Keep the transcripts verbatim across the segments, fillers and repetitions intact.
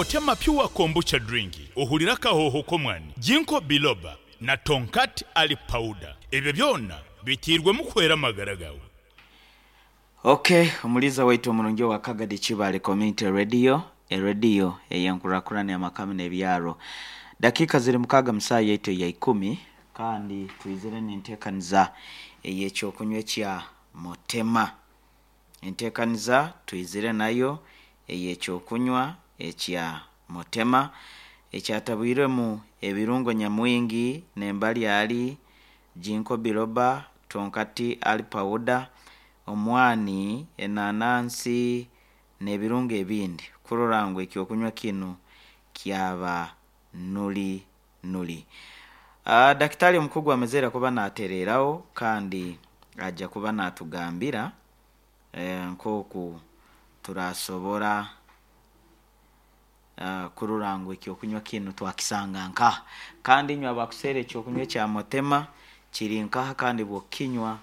Mutema Pure Kombucha Drink ohurire akahoho k'omwani, Ginkgo Biloba na Tongkat Ali Powder. Ebyo byona biteirwemu kuhwera amagara gaawe. Okay, omuliza waitu omurungi owa Kagadi Kibaale Community Radio, erediyo ey'enkurakurana y'amaka n'ebyaro. Dakiika ziri mukaaga mu saaha yaitu eya ikumi, kandi twizire n'enteekaniza ey'ekyokunywa ekya Mutema. Enteekaniza twizire nayo ey'ekyokunywa ekya Mutema ekyatabwirwemu ebirungo nyamwingi n'embaryari, Ginkgo Biloba, Tongkat Ali Powder, omwani, enanansi n'ebirungo ebindi kurora ngu ekyokunywa kinu kyaba nuri nuri. Uh, dakitari omukugu amazire kuba natereraho kandi ajja kuba natugambira eh, nk'oku turasobora uh, kurora ngu ekyokunywa kinu twakisanga nkaha. Kandi inywe abakuseera ekyokunywa ekya Mutema kiri nkaha, kandi bw'okinywa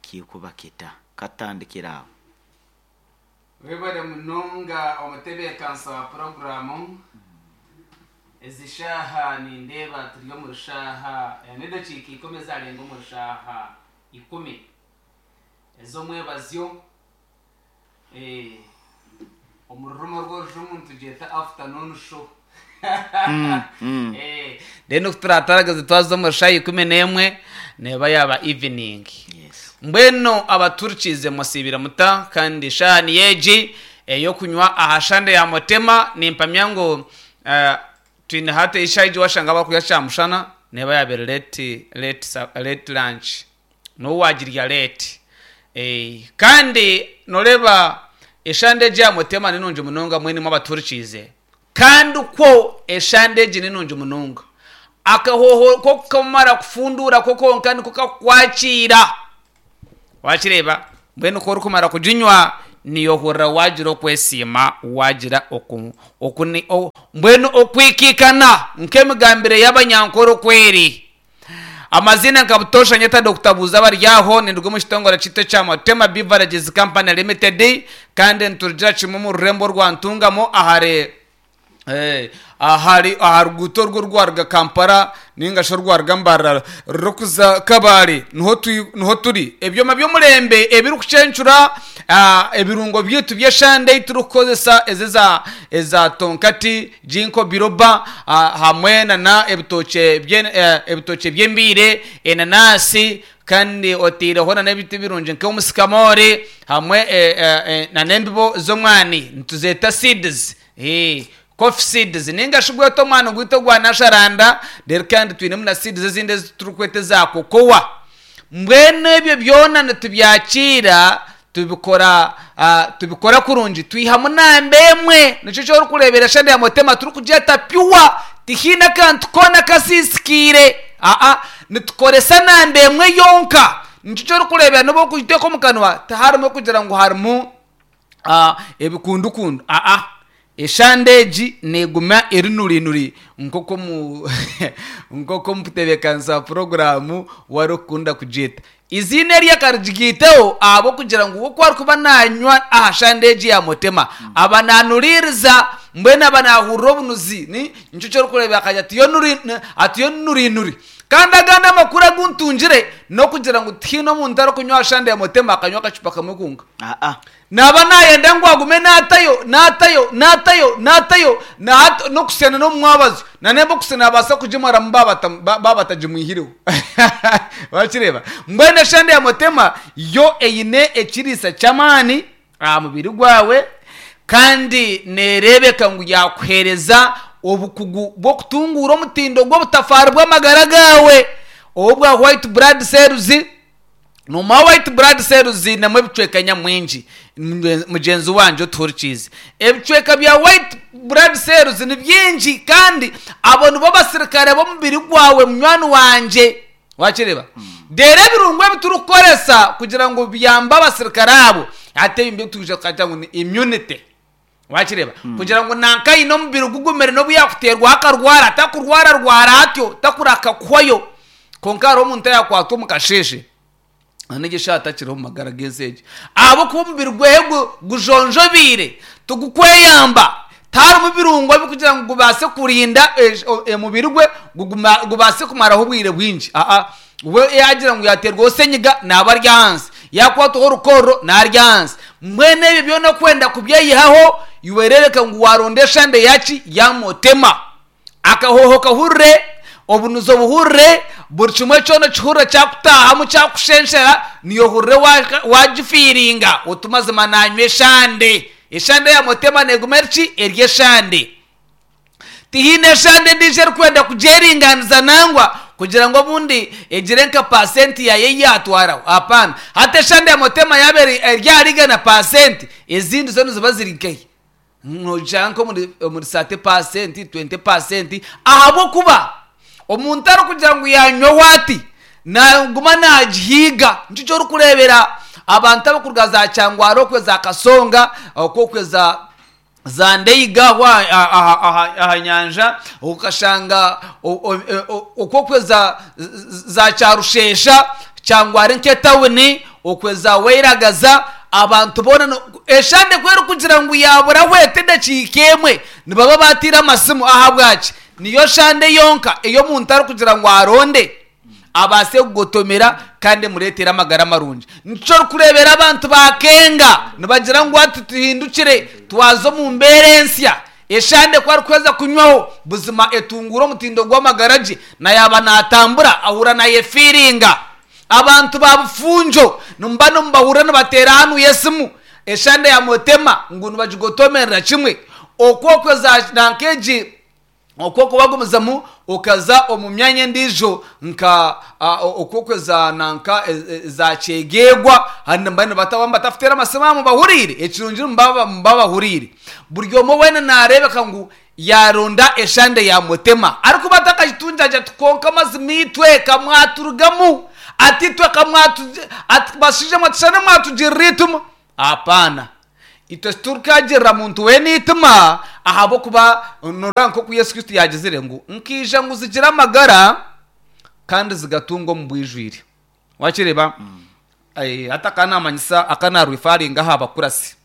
kikuba kita. Katandikira aho. Webale munonga omutebeekanisa wa puroguramu. Ezi shaaha nindeeba turi omu rushaaha n'edakiika ikumi ezarenga omu rushaaha ikumi ez'omwebazyo. eh, omu rurimi rw'orujungu nitugyeta afternoon show. Mm, mm. Eh, then oku turataragaze twaza omu rushaaha ikumi n'emwe neeba yaaba evening. Yes. Mbwenu abaturikiize musiibire muta? Kandi eshaaha niyo egi ey'okunywa aha shande ya Mutema. Nimpamya ngu eh, twine hati eshaaha egi washanga bakurya kyamushana neeba yabaire late, late, sa- late lunch, n'obu wagirya late. Eh, kandi noreeba eshande egi ya Mutema ni nungi munonga. Mwenu abaturikiize, kandi kwo eshande egi ni nungi munonga, akahoho ko kamara kufundura ko konka niko kakukwakira. Wakireeba? Mbwenu ko orikumara kuginywa niyohurira wagira okwesiima, wagira oku, okuni, o, mbwenu okwikikana nk'emigambire y'abanyankore okweri. Amazina nka butosha nyeta Doctor Buuza Baryaho, ninduga omu kitongore kitu ekya Mutema Beverages Company Limited, kandi niturugira kimwe omu rurembo rwa Ntungamo, ahari Eh, ahari aha ruguuto orwo rwaruga Kampala ninga shi orwaruga Mbarara rurikuza Kabale, niho tui- niho turi. Ebyoma by'omurembe ebirikucencura ah, ebirungo byaitu by'eshande ei turikukozesa, ezi eza eza tonkati, ginkgo biloba, ah, hamwe nana ebitookye bye- eh, ebitookye by'embiire, enanasi, kandi oteireho nana ebiti birungi nk'omusikamori, hamwe eh, eh, eh, nana embibo z'omwani nituzeeta seeds, eh, coffee seeds, ninga shi gweta omwani gwaitu ogwa nasharanda. Reero kandi twinemu na seeds ezindi ezi turikweta eza kokowa. Mbwenu ebyo byona nitubyakira, tubikora ah, tubikora kurungi, twihamu namba emwe. Nikyo kyorikureebera eshande ya Mutema turikugyeta pure, tihaine akantu koona kasisikiire. Aa, nitukoresa namba emwe yonka. Nikyo kyorikureebera nobu okugiteeka omu kanwa tiharimu kugira ngu harimu ah, ebikundukundu. Aa, eshande egi neguma eri nurinuri nk'oku omu nk'oku omutebeekanisa wa puroguramu warikukunda kugyeta. Iziina eri akarigiteho ahabw'okugira ngu oku arikuba nanywa aha shande egi ya Mutema aba nanuriiriza, mbwenu aba nahurira obunuzi. Ni nikyo kyorikureeba akagira ati yo nuri ati yo nurinuri. Kandi agandi amakuru agu ntungire n'okugira ngu tihaine omuntu arikunywa aha shande ya Mutema akanywa akacupa kamwe konka. Ah, ah. Naba nayenda ngu agume natayo, natayo, natayo, natayo, nahat- n'okusena n'omumwabazo nanemba okusena abaasa kugimaramu baba batagimwihireho. Wakireeba? Mbwenu eshande ya Mutema yo eine ekiriisa ky'amaani aha mubiri gwawe, kandi neereebeka ngu yakuheereza obukugu bw'okutunguura omutindo gw'obutafaari bw'amagara gaawe obwa white blood cells. Noma white blood cells zinemu ebicweka nyamwingi. Mugyenzi wangye otuhurikiize, ebicweka bya white blood cells ni bingi, kandi abo nibo basirikare b'omubiri gwawe, munywani wangye. Wakireeba? Reero ebirungo ebi turikukoresa kugira ngu biyambe abasirikare abo, hati ebi nibyo tukagira ngu ni immunity. Wakireeba? Kugira ngu nanka aine omubiri gugumire, n'obu yakuteerwaho akarwara atakurwara rwara atyo, takuraka kuhwayo. Konka hariho omuntu ayakwatwa omu kasheeshe anegyesha atakiriho omu magara g'ensi egi, ahabw'okuba omubiri gwehe gu- gujonjobiire, tigukweyamba. Tarimu birungo bikugira ngu gubase kurinda omubiri gwe gubase kumaraho obwire bwingi. Aa we yagira ngu yaterwa senyiga naba ari ahansi, yakwataho orukorro nari ahansi. Mbwenu ebyo byona okwenda kubyeyihaho iwerereka ngu waronda eshande yaki ya Motema. Akahoho kahurire, obunuzi obuhurire, buri kimwe kyona kihurire kyakutahamu kyakushenshera, niyo hurire wagifiiringa otumazima nanywa eshande. Eshande ya Motema neguma eriki eri eshande. Tihiine eshande endiijo erikwenda kugyeringaniza nangwa kugira ngu obundi egire nka pasenti yayo yatwaraho. Hapana, hati eshande ya Motema yaba eri ahari pasenti, ezindi zo niziba ziri nkehi nogira nka omuri sate pasenti, twente pasenti, ahabw'okuba omuntu arikugira ngu yanywaho ati naguma nagihiiga. Nikyo ky'orikureebera abantu abarikuruga za Kyangwaro okwe za Kasonga okwe za za Ndeiga aha nyanja, okashanga okwe za za Kyarushesha Kyangwaro nk'etawuni okwe za Weiragaza, abantu boona eshande kweri kugira ngu yaburaho ete edakiika emwe nibaba batiire amasimu. Ahabwaki? Niyo shande yonka ey'omuntu arikugira ngu aronde abase kugotomera kandi emureetere amagara marungi. Nikyo orikureebera abantu bakenga nibagira ngu ati tuhindukire twaza omu mbeera ensya. Eshande ku arikuheza kunywaho buzima etungura omutindo gw'amagara gye, na yaba natambura ahura nayefiiringa. Abantu ba Bufunjo nimuba nimubahurira nibateera hanu y'esimu eshande ya Motema ngu nibagigotomerera kimwe. Okwo nankeegi okwo kubagumizamu okaza omu myanya endiijo nka okwo za nanka za Kyegegwa, handi mbani batafutera amasimu bahuriire ekirungi mubabahuriire. Buri omwe weena nareebeka ngu yaronda eshande ya Motema arikuba atakagitunjaja tukonka amazima itwe kamwaturugamu ati twe kamwatu basije mwatushane mwatugirira ituma. Hapana, itwe turikagirira muntu weena itima ahabw'okuba nora nk'oku Yesu Kristo yagizire ngu nkiija ngu zigira amagara kandi zigatunga omu bwijwire. Wakireeba? Hati akanamanyisa akanarwifaringa aha bakurasi.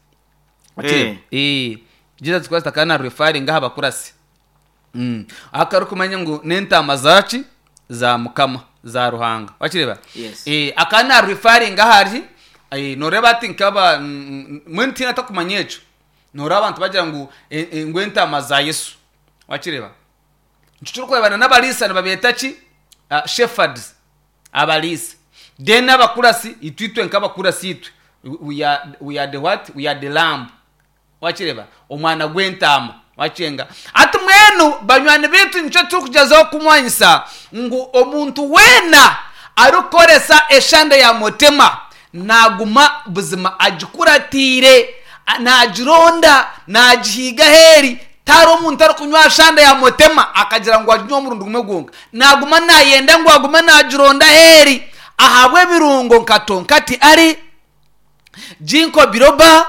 Eh, Jesus Christ akanarwifaringa aha bakurasi. Mm. Akarikumanya ngu n'entaama zaki za Mukama za Ruhanga. Wakireeba? Eh, akanarwifaringa ahari noreeba ati nkaba mbwenu tihaine atakumanya ekyo. Noreeba abantu bagira ngu ngu entaama za Yesu. Wakireeba? Nikyo turikureebana n'abariisa nibabeeta ki? Shepherds, abariisa. Then abakurasi itwe itwe nk'abakurasi itwe we are, we are the what? We are the lamb. Wakireeba? Omwana gw'entaama. Wakirenga? Ati mwenu banywani baitu nikyo turikugyezaho kumwanyisa ngu omuntu weena arikukoresa eshande ya Motema naguma buzima agikuratiire, nagironda, nagihiiga aheeri. Tari omuntu arikunywa shande ya Motema akagira ngu aginywa omurundi gumwe gwonka, naguma nayenda ngu agume nagironda aheeri ahabw'ebirungo nka tonkati ari ginkgo biloba.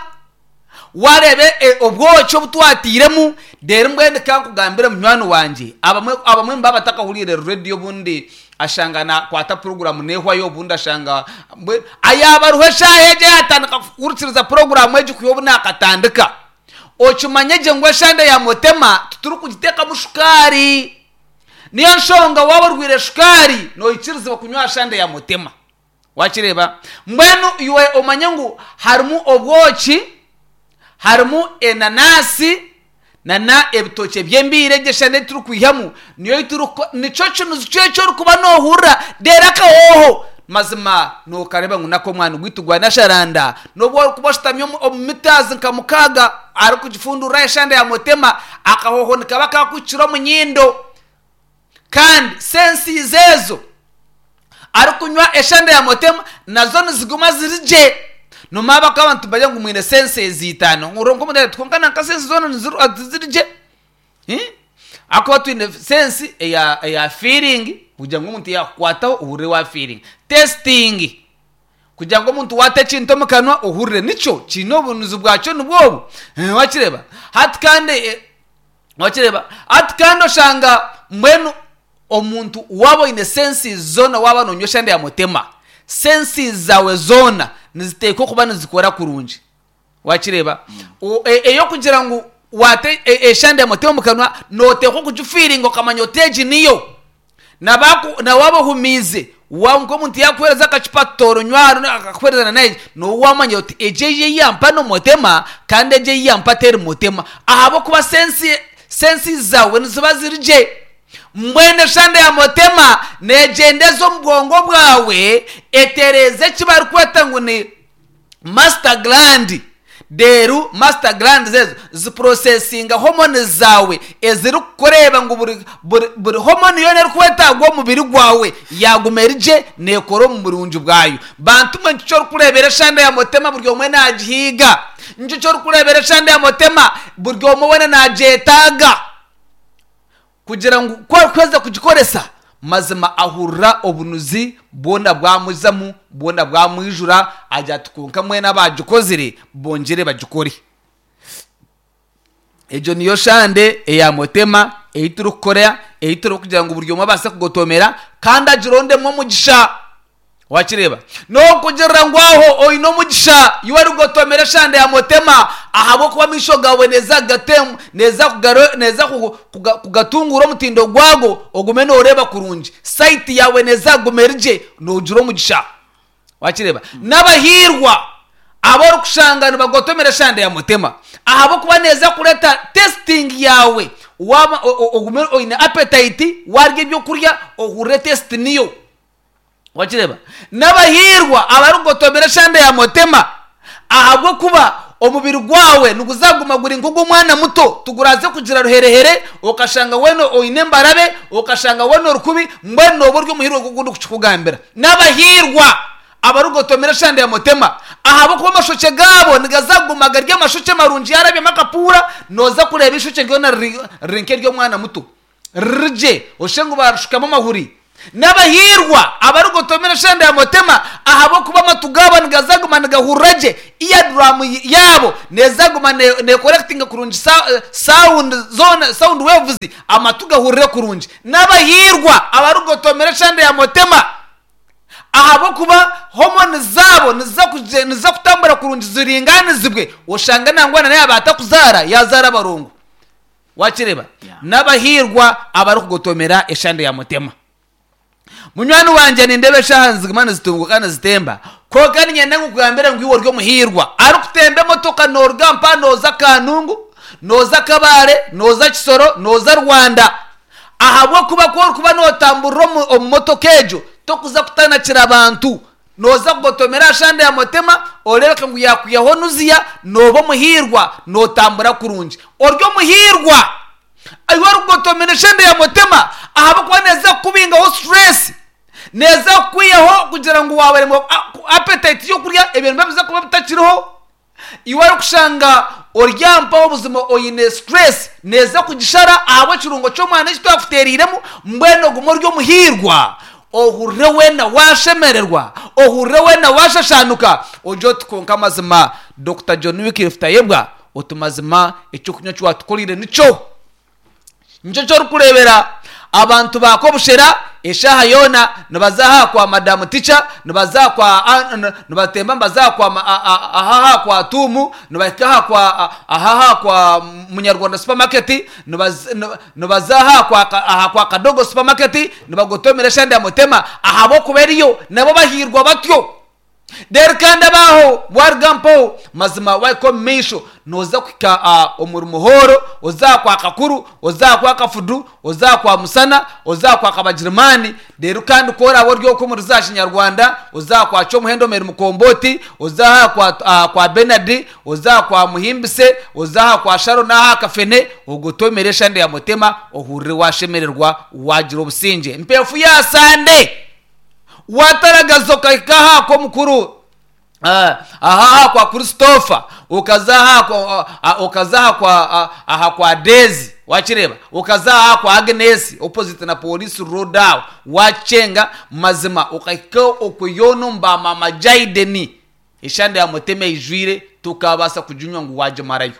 Warebe obwoki obutwatiiremu. Rero mbwenu kankugambire munywani wangye, abamwe abamwe mbaba batakahuriire rediyo obundi ashanga nakwata poroguramu nehwayo, obundi ashanga ayaba ariho eshaaha egyo yatandika kuhurikiriza poroguramu egi kwiha obu nakatandika. Okimanye gye ngu eshande ya Motema titurikugiteekamu shukaari. Niyo nshonga waaba orwire shukaari noikirizibwa kunywa shande ya Motema. Wakireeba? Mbwenu iwe omanye ngu harimu obwoki, harimu enanasi nana ebitookye by'embiire egyo eshande turikwihamu niyo nikyo kinuzi kyekyo orikuba nohurira reero akahoho mazima nokareba ngu nako omwana gwaitu gwanasharanda. Nobu orikuba oshutami omu mitazi nka mukaaga arikugifundurira eshande ya Motema, akahoho nikaba kakukira omu nyindo. Kandi sensizi ezo arikunywa eshande ya Motema nazo niziguma ziri gye. Nomaba ko abantu bagira ngu mwine senses itaano ngu nko twonka nanka senses zona niziri gye. Akuba twine sense eya eya feeling kugira ngu omuntu yakukwataho ohurire wa feeling. Testing kugira ngu omuntu wata ekintu omu kanwa ohurire nikyo kiine obunuzi bwakyo nibwobu. Wakireeba? Hati kandi wakireeba? Hati kandi oshanga mbwenu omuntu waaba oine senses zoona waaba nonywa eshande ya Motema, senses zawe zoona niziteekwa kuba nizikora kurungi. Wakireeba? Eyokugira ngu Wate eshande ya motema omukanwa, noteekwa okugifiiringa okamanya oti egi niyo. Nawaaba ohumiize, nk'omuntu yakuheereza akacupa toronywa, akakuheereza na nowamanya oti egi egi eyampa nomutema, kandi egi eyampa teri mutema, ahabwokuba sense senses zawe niziba ziri gye. Mbwenu eshande ya motema negyendeza omu bwongo bwawe, etereeza eki barikweta ngu ni master gland. Deru master gland zezo ziprocessinga hormone zawe eziri kukureba ngu buri, buri, buri hormone yona erikwetagwa omubiri gwawe yaguma erigye, nekora omu burungi bwayo. Bantu mwe, nikyo orikurebera eshande ya motema buri omwe nagihiga. Nikyo kyorikurebera eshande ya motema buri omwe wena nagyetaaga, kugira ngu kweza kugikoresa, mazima ahurira obunuzi bwona bwamuzamu, bwona bwamwijura. Agira ati, "Konka mwena abagikozire bongere bagikore." Egyo niyo shande eya motema ei turikukora, ei turi kugira ngu buri omwe abaase kugotomera kandi agirondemu omugisha. Wakireba nokugirira ngu aho oine omugisha iwe arigotomera eshande ya motema, ahabwokuba amaisho gawe neza kugatemu, neza kugaro, neza kuga- kugatungura omutindo gwago, ogume noreeba kurungi, sight yawe neza kuguma erigye, nogira omugisha. Wakireba n'abahirwa abo orikushanga nibagotomera eshande ya motema, ahabwokuba neza kureta tasting yawe. Waba o- o- ogume oine appetite, warya ebyokurya ohurire taste niyo. Wakireba n'abahirwa abarikugotomera eshande ya motema, ahabwokuba omubiri gwawe niguzaguma guri nk'ogw'omwana muto, tuguraze kugira ruherehere okashanga wena oine embarabe, okashanga wena orukubi. Mbwenu noba ori omuhirwa gundi kukikugambira. N'abahirwa abarikugotomera eshande ya motema, ahabwokuba amashoke gaabo nigazaguma gari amashoke marungi. Yarabyemu akapuura, noza kureeba ishoke ryona riri riri nk'ery'omwana muto, ririgye oshe ngu barushukamu amahuri. N'abahirwa abarigotomera eshande ya motema, ahabwokuba amatu gaabo nigazaguma nigahurira gye, eardrum yaabo nezaguma necollectinga kurungi sa- sound zone, sound waves, amatu gahurire kurungi. N'abahirwa abarigotomera eshande ya motema, ahabwokuba hormone zabo niza kuje- niza kutambura kurungi, ziringanizibwe, oshanga nangwa naye abaatakuzaara yazaara abarongo. Wakireba? Yeah. N'abahirwa abarikugotomera eshande ya mutema. Munywani wanje, nindeba eshaha niziguma nizitunguka, nizitemba, konka ninyenda nkukugambira ngu iwe ori omuhirwa arikutemba emotoka, noruga mpa noza Kanungu, noza Kabare, noza Kisoro, noza Rwanda, ahabwokuba ku orikuba notamburira omu omu motoka egyo, tokuza kutanakira abantu. Noza kugotomera ashande ya motema, orebeka ngu yakwihaho nuziya, noba omuhirwa, notambura kurungi. Ori omuhirwa iwe orikugotomera eshande ya motema, ahabwokuba neza kukubingaho stress, neza kukwihaho kugira ngu wabaremwa appetite yokurya, ebintu biba kuba bitakiriho. Iwe arikushanga oryampaho obuzima oine stress, neza kugishara ahabw'ekirungo ky'omwana eki twakuteereiremu. Mbwenu ogume ori omuhirwa, ohurire wena washemererwa, ohurire wena washashanuka, ojye oti, "Konka amazima, Doctor John Wycliffe Tayebwa, oti mazima ekyokunywa kiwatukorire nikyo." Nicyo kyorikurebera abantu bakobushera eshaha yona nibaza kwa madamu tica, nibaza kwa a- n- nibatemba, nibaza kwa ma- a- a- ahaha kwa tumu, nibahika aha kwa a- ahaha kwa Munyarwanda Supermarket, nibaz- nib- nibaza aha kwa ka- aha kwa Kadogo Supermarket, nibagotomera eshande ya mutema, ahabwokuba eriyo nabo bahirwa batyo. Rero kandi abaho warugampo, mazima waiko mumaisho, noza kuhika uh, omuri Muhoro, oza kwa Kakuru, oza kwa Kafudu, oza kwa Musana, oza kwa Kabagirimani. Rero kandi koraba ori okwo omuri za Kinyarwanda, oza kwa Kyomuhendo Meri Mukomboti, oza aha kwa, uh, kwa Benard, oza kwa Muhimbise, oza aha kwa Sharo n'aha Kafene, ogotomere eshande ya mutema, ohurire washemererwa, wagira obusinge. Mpefu ya sande wataragaza ukahika aha kw'omukuru, Ah, aha kwa Christopher, ukaza aha kwa ah, ukaza aha kwa ah, aha kwa Daisy, wakireba, ukaza aha kwa Agnes opposite na police road aho wachenga, mazima ukahika okuyono mba mama Jaideni, eshande ya muteme ijwire, tukabasa kujunywa ngu wajimarayo.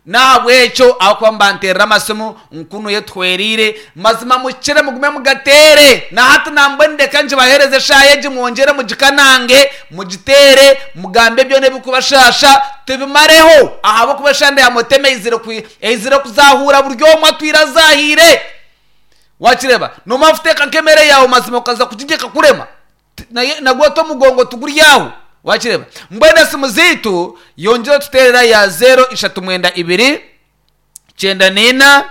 Nahabwekyo ahakuba mbanterera amasimu nkunu yetwerire mazima mukire mugume mugatere. Na hati nambwe ndeka ngibahereze eshaaha egi mwongyere mugikanange mugitere mugambe byona ebikubashasha tubimareho ahabw'okuba eshande ya motema eizire kwi- eizire kuzahura buri omwe atwire azahire. Wakireba nomara kuteeka nk'emere yawe mazima okaza kugigyeka kurema T- naye nagwo omugongo tuguryaho. Wakireba mbwenu esimu ziitu yongyere tuterera ya zero ishatu mwenda ibiri kyenda nina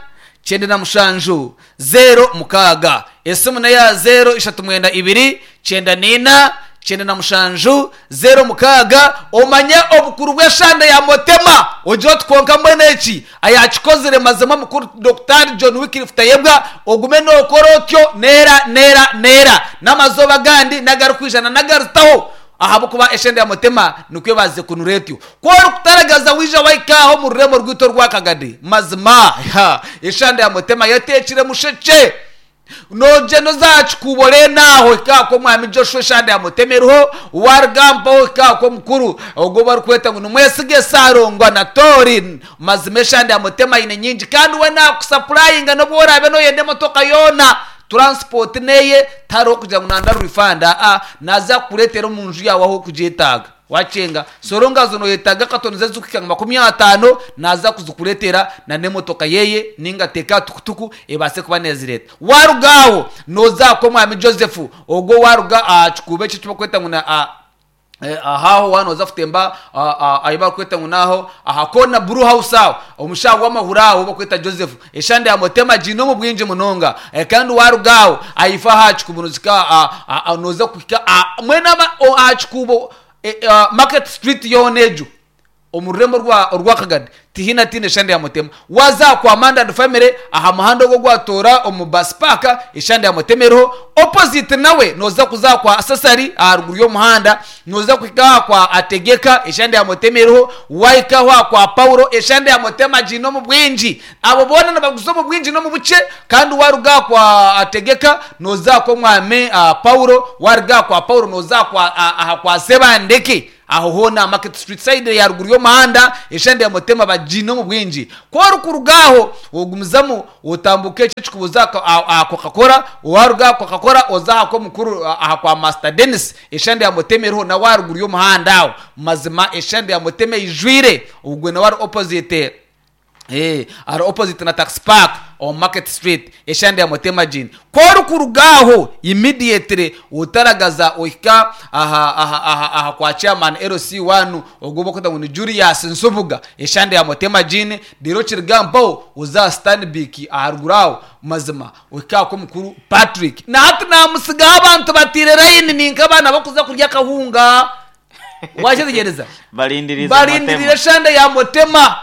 kyenda na mushanju zero mukaaga. Esimu neya zero ishatu mwenda ibiri kyenda nina kyenda na mushanju zero mukaaga. Omanye obukuru bw'eshanda ya motema ogire otukonka mbwenu eki ayakikozire mazima mukuru Dr John Wycliffe Tayebwa ogume nokora otyo neera neera neera n'amazoba gandi n'agarikwijana n'agarutaho ahabwokuba eshenda ya motema nikwo baze kunura etyo. Ku orikutaragaza wija waikaho omu rurembo rwitu orwakagadi mazima ha eshanda ya motema yateekire musheke noje nozakikubore naho ikako mwami Joshua eshanda ya motema eriho warugambaho ikako mukuru ogwo barikweta ngu nimwesige sarongwa na tori. Mazima eshanda ya motema ine nyingi kandi we nakusapurayinga n'obu orabe noyenda emotoka yoona transport neye tariho kugira ngu nanda rwifanda a naza kukureetera omu nju yawe aho okugyetaaga. Wacenga sorongazo noyetaaga katoni zezikuhika nka makumi ataano naza kuzikureetera na n'emotoka yeye ninga teeka tukutuku ebaase kuba nezireta. Warugaho nozaako omwami Joseph ogwo waruga aha kikuubo eki ekibakweta ngu na a Eh, ahaho wano oza kutemba ayi bakweta ngu naho aha kona brew house aho omushaho w'amahuri aho bakweta Joseph eshande ya motema gino mu bwingi munonga. Eh, kandi warugaho ayifa aha kikuubo nozika noza kuhika mwena aha kikuubo eh, Market Street yoona egyo omu rurembo rwa orwakagadi tihina tine eshande ya motema. Waza kwa Amanda and family aha muhanda ogwo gwatora omu bus park eshande ya motema eriho opposite nawe noza kuza kwa Sasari aharuguru y'omuhanda noza kuhika kwa Ategeka eshande ya motema eriho waikaho kwa Paulo eshande ya motema gino mu bwingi. Abo boona nibaguza omu bwingi n'omu bukye. Kandi waruga kwa Ategeka noza kwa mwami uh, Paulo waruga kwa Paulo noza kwa aha kwa Sebandeke aho hona Market Street side ya ruguru y'omuhanda eshande ya motema bagino mu bwingi. Ku orikurugaho ogumizamu otambuke eki ekikubuza Coca-Cola waruga Coca-Cola oza aha kw'omukuru aha kwa Master Dennis eshande ya motema eriho na waruguru y'omuhanda aho mazima eshande ya motema ijwire ogwe nawe ari opposite Eh, ari opposite na tax park on Market Street eshande ya motema jini. Ku orikurugaho immediately utaragaza ohika aha aha aha aha kwa chairman L C one ogwo bakweta ngu ni Julius Nsubuga eshande ya motema jini. Rero kirigambaho uza Stanbic aharuguru aho mazima ohika ko mukuru Patrick. Na hati namusigaho abantu batire line ninka abaana bakuza kurya akahunga. Wakitegereza Balindirire balindirire motema. eshande ya motema.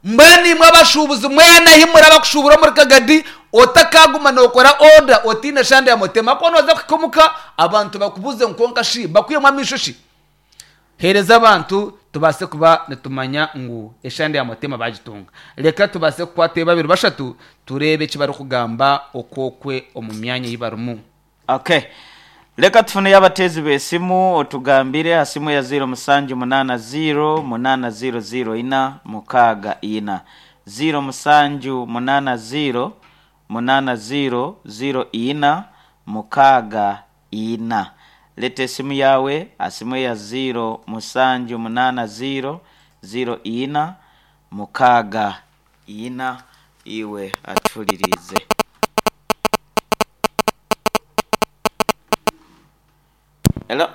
Mbwenu imwe abashuubuzi mwena himura abakushubura omuri kagadi otakaguma nokora order otiine eshande ya motema ko noza kuhika abantu bakubuze nkonka shi bakwiyemu amaisho shi. Hereza abantu tubaase kuba nitumanya ngu eshande ya motema bagitunga. Reka tubaase kukwata babiri bashatu tureebe eki barikugamba okwokwe omu myanya ei barimu. Okay, leka tufuneyo abateezi b'esimu otugambire aha simu ya zero musanju munana zero munana zero zero ina mukaaga ina zero musanju munana zero munana zero zero ina mukaaga ina. Leta esimu yawe aha simu ya zero musanju munana zero zero ina mukaaga ina iwe atulirize. Hello.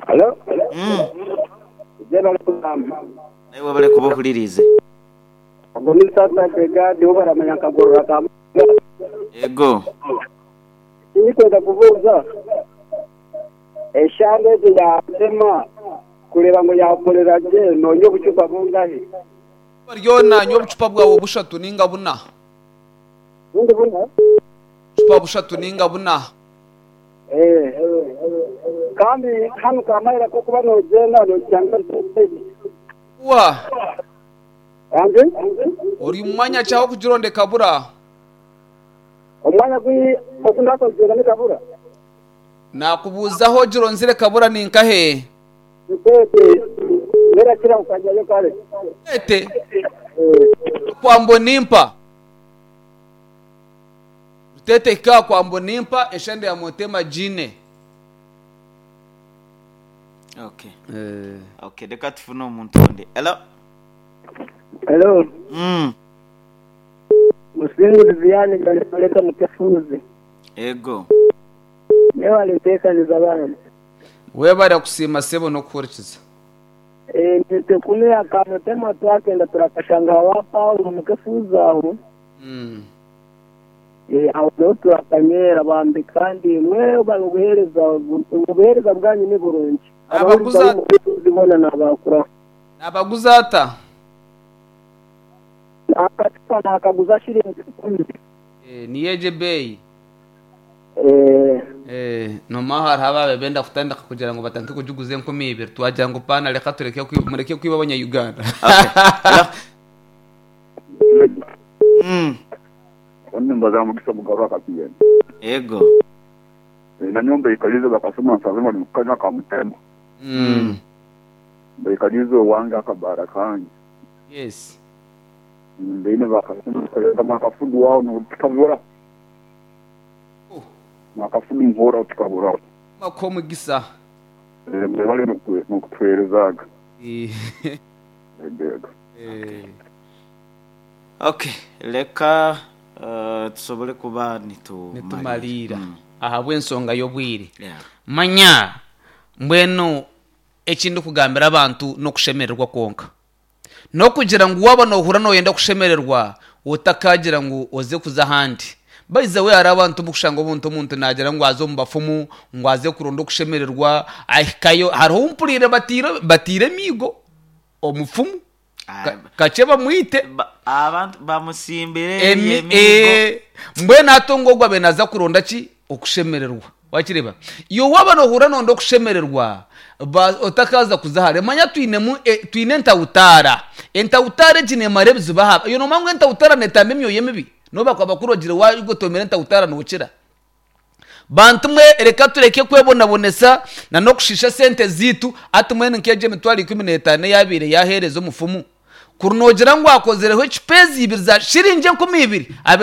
Hello? Mm. Jeba kugamba. Nawe bale kubuhulirize. Ogwo ni sasa Brigade bo baramanya nkagorora ka. Ego. Ndikwenda kubuuza. Eshande egi yatema kureba ngo yakorera gye nonye obucupa bungahe. Ryona nyowe obucupa bwawe bushatu ninga buna. Bundi buna? Obucupa bushatu ninga buna. Eh. Kandi hano kamahera ko kuba nogenda nocyanga. Wa. Anje? Ori mu mwanya cyaho kugironde kabura. Omwanya gwi okunda kugenda ni kabura. Nakubuzaho gironzire kabura ni nkahe? Ntete. Nerakira kukanyayo kare. Ete kwa Mbonimpa. Rutete ka kwa Mbonimpa eshande ya Motema jine. Okay. Okay, reka tufune omuntu ondi. Hello. Hello. Mm. Musingu Viviane galipeleka mkefuzi. Ego. Leo aliteekaniza abana. Webare kusiima sebo n'okuhurikiza. Eh, nitekumira akamutema twakenda turakashanga wa Paulo mukefuzi aho. Mm. Eh, aho niho turakanyera bambi kandi mwe baguhereza ubuhereza bwanyu ni burungi. Abaguza- Abaguza bona nabakura. Nabaguza ata? Akacupa nakaguza shilingi kumi. Eh, niyeje bei. Eh, Eh, noma hariho ababe benda kutandika kugira ngo batandike kugiguza enkumi ibiri twagira ngo pana reka tureke kwi- mureke kwiba abanya-Uganda. Okay. Hello. Mm. Onimba mukisa mugabo akapiyeni. Ego. Na nyomba ikalize bakasoma nsazima nimukanya kamutema. Mm. Baikalize owange akabara kange. Yes. Mbine bakasoma kama akafudu wao nutukabura. Oh. Makafudu nkora utukabura. Mako mugisa. Eh mbale nokutwerezaga. Eh. Ebega. Eh. Okay, reka uh, tusobole kuba nitu Nitumalira. Mm. Ahabw'ensonga y'obwire. Yeah. Manya mbwenu ekindi kugambira abantu n'okushemererwa kwonka. N'okugira ngu waba nohura noyenda kushemererwa otakagira ngu oze kuza ahandi. Baiza we hari abantu mukushanga obuntu omuntu nagira ngu aze omu bafumu ngu aze kuronda okushemererwa ahikayo hariho mpurire batiire batiire emiigo omufumu Ah, Ka- kakye bamwite ba- abantu bamusimbire Emi- emiigo. eh, mbwenu atonga ogwo abe naza kuronda ki okushemererwa wakireba iyo waba nohura nonda okushemererwa ba- otakaza kuza hare manya twinemu eh, twine entawutara entawutara egi nemara ebizibu aha iyo nomanya ngu entawutara netamba emyoyo emibi noba bakurogire wagotomera entawutara nokira bantu mwe reka tureke kwebonabonesa na nokushisha sente zitu ati mwene nkeje emitwaro ikumi n'etaano eyabiire yaheereza omufumu kuri nogira ngu akozereho ekipezi ibiri za shiringi enkumi ibiri abe